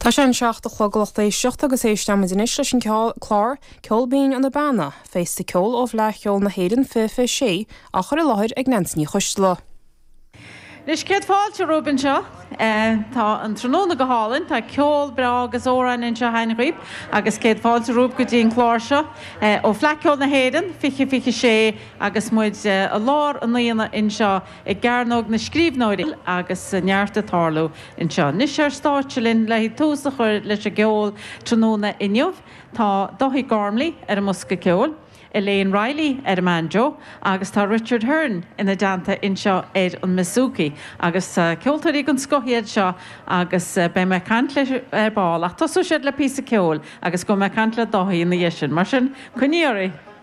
Tá sé an 7 a chlog a lucht éisteachta agus éistfimid anois leis an clár Ceol Binn ó na Beanna, Féasta Ceoil ó Fhleadh Cheoil na hÉireann 2026, á chur i láthair ag Neansaí Ní Choisdealbha. Anois, céad fáilte romhaibh anseo. Tá an tráthnóna go hálainn, tá ceol breá agus amhráin anseo againn dhaoibh agus céad fáilte romhaibh go dtí an clár seo ó Fleadh Cheoil na hÉireann 2026 agus muid i lár an aonaigh anseo i gCearnóg na Scríbhneoirí agus neart ag tarlú anseo. Anois ar stáitse linn le tús a chur leis an gceol tráthnóna inniu tá Dáithí Gormley ar an mbosca ceoil, Elaine Reilly ar an mbanjo agus tá Richard Hearne ina dteannta anseo ar an mbouzouki. Agus ceoltóirí den scoth iad seo agus beidh mé ag caint leo ar ball ach tosóidh siad le píosa ceoil agus gabhfaidh mé ag caint le Dáithí ina dhiaidh sin. Mar sin, coinnigí oraibh!